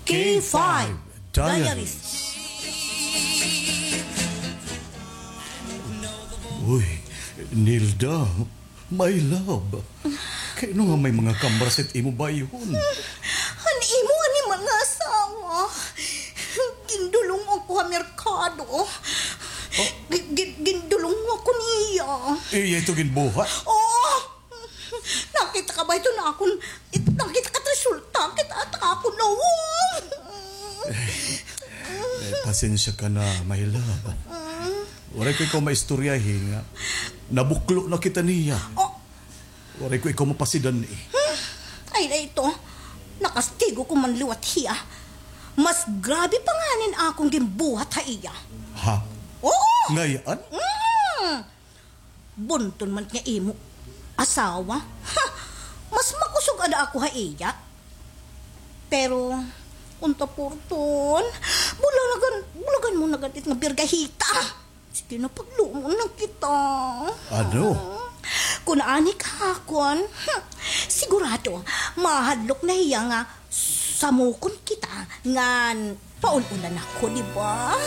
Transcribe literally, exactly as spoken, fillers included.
K five Diaries. Uy, Nilda, my love. Kay ano nga may mga kamras it imo bayhon? An imo animal nga asawa. Gindulong ako ha merkado. Gi-, gi-, gindulong ako niya. Iya ito ginbuhat? Oo. Nakita ka ba ito na akon, it-, nakita ka it resulta, kita ta akon nawong. Eh, pasensya ka na, my love. Waray ko ikaw maistoryahi nga nabuklo na kita niya. Oh. Waray ko ikaw mapasidan eh. Hmm. Ay, na ito. Nakastigo ko man liwat hiya. Mas grabe pa nganin akon ginbuhat ha iya. Ha? Oo. Ngay-an? Mm. Bunton man nga imo asawa. Ha! Mas makusog ada ako ha iya. Pero, unta purton, bulagan, bulagan mo na gad it nga birgahita. Sige na, paglumon na kita. Ano? Kun ani ka ha akon, hmm, sigurado, mahadlok na hiya nga samukon kita ngan paul-ulan ako, di ba?